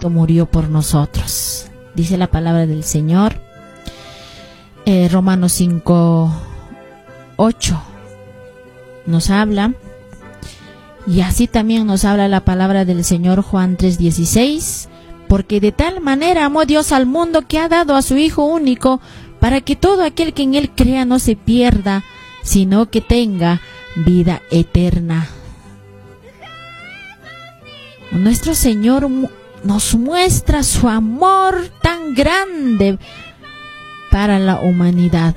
Cristo murió por nosotros. Dice la palabra del Señor. Romanos 5:8 nos habla. Y así también nos habla la palabra del Señor Juan 3:16. Porque de tal manera amó Dios al mundo que ha dado a su Hijo único, para que todo aquel que en él crea no se pierda, sino que tenga vida eterna. Nuestro Señor nos muestra su amor tan grande para la humanidad.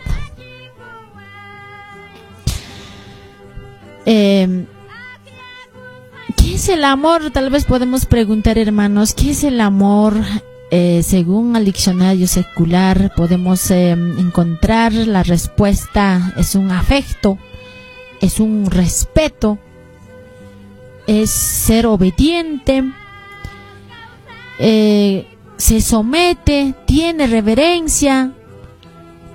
¿Qué es el amor? Tal vez podemos preguntar, hermanos, ¿qué es el amor? Según el diccionario secular podemos encontrar la respuesta: es un afecto, es un respeto, es ser obediente, se somete, tiene reverencia.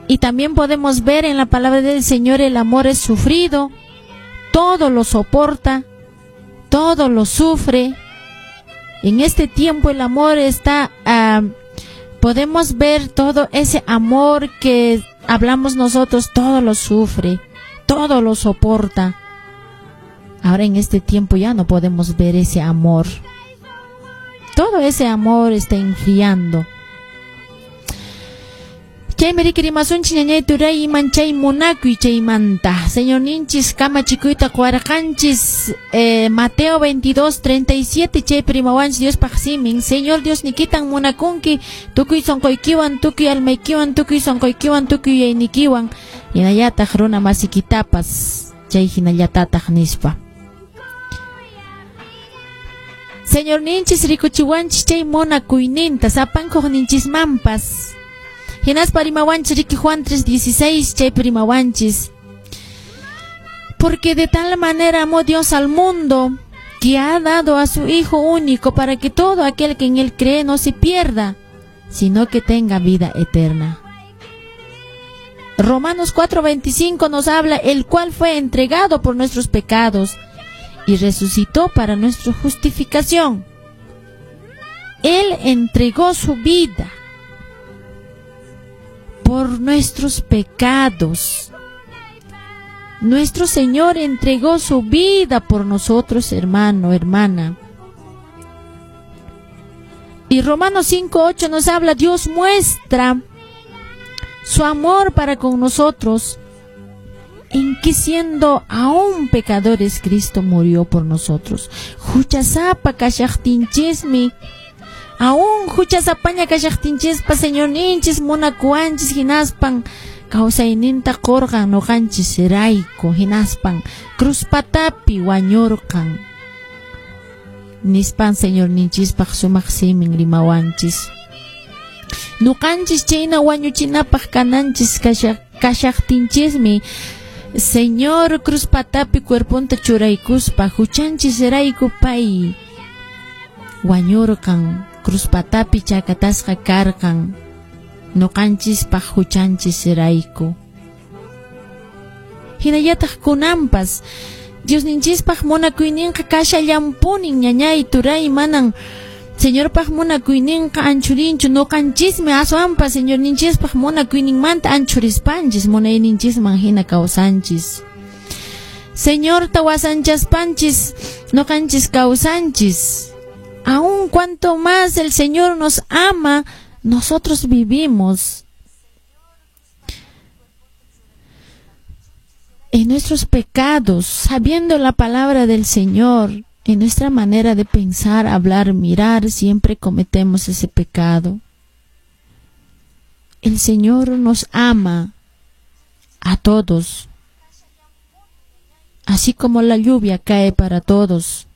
Y también podemos ver en la palabra del Señor, el amor es sufrido, todo lo soporta, todo lo sufre. En este tiempo el amor está, podemos ver todo ese amor que hablamos nosotros, todo lo sufre, todo lo soporta. Ahora en este tiempo ya no podemos ver ese amor. Todo ese amor está enfriando. Chaymi rikurimasunchik ñañay turay iman chay munakuy chaymanta. Señor ninchis kamachikuyta quwarqanchis, Mateo 22:37 chaypi rimawanchis Diospaq simin. Señor Dios nikitan munakunki tukuy sonqoykiwan, tukuy almaykiwan, tukuy sonqoykiwan, tukuy yuyaynikiwan, hinallataq runa masikitapas chay hinallatataq nispa. Señor ninchis rikuchiwanchis chay munakuyninta sapankuq ninchismanpas. Hinaspa rimawanchis riki Juan 3:16 chaypi rimawanchis. Porque de tal manera amó Dios al mundo que ha dado a su Hijo único para que todo aquel que en él cree no se pierda, sino que tenga vida eterna. Romanos 4:25 nos habla, el cual fue entregado por nuestros pecados y resucitó para nuestra justificación. Él entregó su vida por nuestros pecados. Nuestro Señor entregó su vida por nosotros, hermano, hermana. Y Romanos 5:8 nos habla, Dios muestra su amor para con nosotros, en que siendo aún pecadores, Cristo murió por nosotros. Huchasapa kashaqtinchismi, aún huchasapaña kashaqtinchispa, Señor ninchis munakuwanchis hinaspan kawsayninta qurqan nuqanchis rayku, hinaspan cruzpatapi wañurqan nispan Señor ninchispaq sumaq simin rimawanchis. Nuqanchis chayna wañuchinapaq kananchis kashaqtinchismi, Señor cruzpatapi cuerponta churaykuspa huchanchis rayku pay wañurqan, cruzpatapi chakatasqa karqan nuqanchispaq huchanchis rayku. Hinallataq kunanpas Diosninchispaq munakuyninqa kashallanpunin, ñañay turay, manan Señorpaq munakuyninqa anchurinchu, nuqanchismi aswanpas Señorninchispaq munakuyninmanta anchurispanchis munayninchisman hina kawsanchis. Señorta wasanchaspanchis nuqanchis kawsanchis. Aun cuanto más el Señor nos ama, nosotros vivimos en nuestros pecados, sabiendo la palabra del Señor. En nuestra manera de pensar, hablar, mirar, siempre cometemos ese pecado. El Señor nos ama a todos, así como la lluvia cae para todos,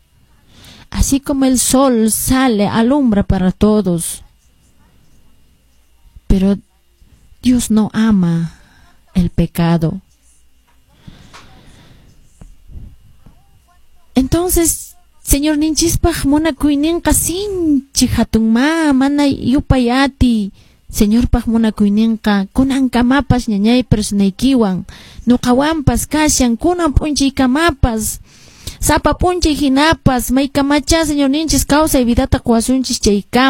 así como el sol sale, alumbra para todos. Pero Dios no ama el pecado. Entonces, Señor ninchispaq munakuyninqa sinchi hatunma, mana yupayati. Señorpaq munakuyninqa kunankamapas ñañay personaykiwan, nuqawanpas kashan kunan p'unchaykamapas, sapa p'unchay hinapas, maykamacha Señor ninchis kawsay vidata quwasunchis chaykama.